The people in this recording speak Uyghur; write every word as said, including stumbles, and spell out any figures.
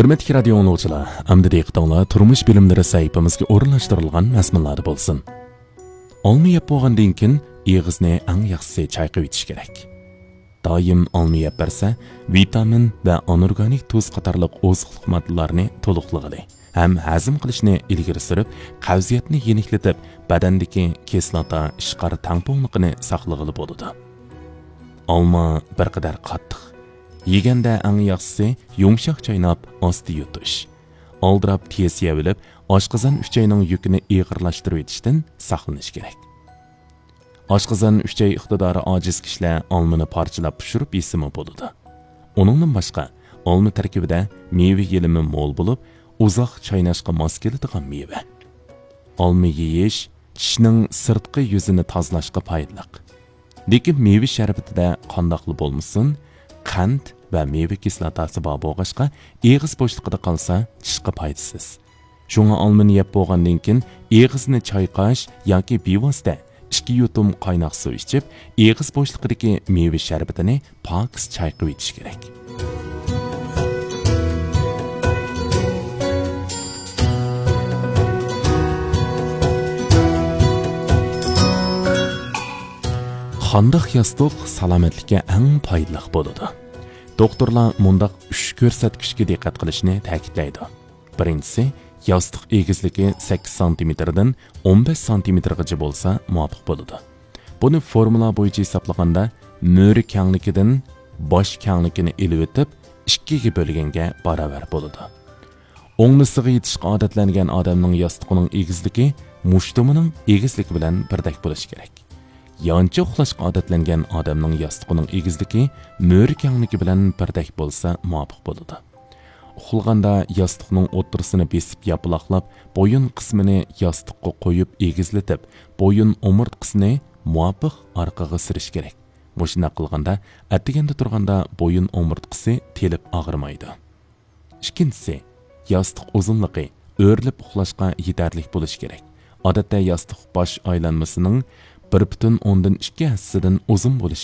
ھۆرمەتلىك رادىيو ئاڭلىغۇچىلار، ئەمدى دىققىتىڭلار تۇرمۇش بىلىملىرى سەھىپىمىزگە ئورۇنلاشتۇرۇلغان مەزمۇنلاردا بولسۇن. ئالما يەپ بولغاندىن كېيىن ئېغىزنى ئەڭ ياخشىسى چايقىۋېتىش كېرەك. دائىم ئالما يەپ بەرسە، ۋىتامىن ۋە ئانورگانىك تۇز قاتارلىق ئوزۇقلۇق ماددىلارنى تولۇقلىغىلى ھەم ھەزىم قىلىشنى ئىلگىرى سۈرۈپ، قەۋزىيەتنى يېنىكلىتىپ، بەدەندىكى كىسلاتا ئىشقار تەڭپۇڭلۇقىنى ساقلىغىلى بولىدۇ. ئالما بىر قەدەر قاتتىق. يېگەندە ئەڭ ياخشىسى يۇمشاق چايناپ، ئاستا يۇتۇش. ئالدىراپ تېز يەۋېلىپ، ئاشقازان ئۈچەينىڭ يۈكىنى ئېغىرلاشتۇرۇۋېتىشتىن ساقلىنىش كېرەك. ئاشقازان ئۈچەي ئىقتىدارى ئاجىز كىشىلەر ئالمىنى پارچىلاپ پىشۇرۇپ يېسىمۇ بولىدۇ. ئۇنىڭدىن باشقا، ئالما تەركىبىدە مېۋە يېلىمى مول بولۇپ، ئۇزاق چايناشقا ماس كېلىدىغان مېۋە. ئالما يېيىش چىشنىڭ سىرتقى يۈزىنى تازىلاشقا پايدىلىق. لېكىن مېۋە شەربىتىدە قانداقلا بولمىسۇن، قەنت ۋە مېۋە كىسلاتاسى بار بولغاچقا، ئېغىز بوشلۇقىدا قالسا چىشقا پايدىسىز. شۇڭا ئالمىنى يەپ بولغاندىن كېيىن ئېغىزنى چايقاش ياكى بىۋاسىتە ئىككى يۇتۇم قايناق سۇ ئىچىپ، ئېغىز بوشلۇقىدىكى مېۋە شەربىتىنى پاكىز چايقىۋېتىش كېرەك. قانداق ياستۇق سالامەتلىككە ئەڭ پايدىلىق بولىدۇ؟ دوختۇرلار مۇنداق ئۈچ كۆرسەتكۈچكە دىققەت قىلىشنى تەكىتلەيدۇ. بىرىنچىسى، ياستۇق ئېگىزلىكى سەككىز سانتىمېتىردىن ئون بەش سانتىمېتىرغىچە بولسا مۇۋاپىق بولىدۇ. بۇنى فورمۇلا بويىچە ھېسابلىغاندا، مۈرە كەڭلىكىدىن باش كەڭلىكىنى ئېلىۋېتىپ، ئىككىگە بۆلگەنگە باراۋەر بولىدۇ. ئوڭنىسىغا يېتىشقا ئادەتلەنگەن ئادەمنىڭ ياستۇقىنىڭ ئېگىزلىكى مۇشتۇمىنىڭ ئېگىزلىكى بىلەن بىردەك بولۇشى كېرەك. يانچە ئۇخلاشقا ئادەتلەنگەن ئادەمنىڭ ياستۇقىنىڭ ئېگىزلىكى مۈرە كەڭلىكى بىلەن بىردەك بولسا مۇۋاپىق بولىدۇ. ئۇخلىغاندا ياستۇقنىڭ ئوتتۇرىسىنى بېسىپ ياپىلاقلاپ، بويۇن قىسمىنى ياستۇققا قويۇپ ئېگىزلىتىپ، بويۇن ئومۇرتقىسىنى مۇۋاپىق ئارقىغا سۈرۈش كېرەك. مۇشۇنداق قىلغاندا، ئەتىگەندە تۇرغاندا بويۇن ئومۇرتقىسى تېلىپ ئاغرىمايدۇ. ئىككىنچىسى، ياستۇق ئۇزۇنلۇقى ئۆرۈلۈپ ئۇخلاشقا يېتەرلىك بولۇشى كېرەك. ئادەتتە ياستۇق باش ئايلانمىسىنىڭ بىر پۈتۈن ئوندىن ئىككى ھەسسىسىدىن ئۇزۇن بولۇشى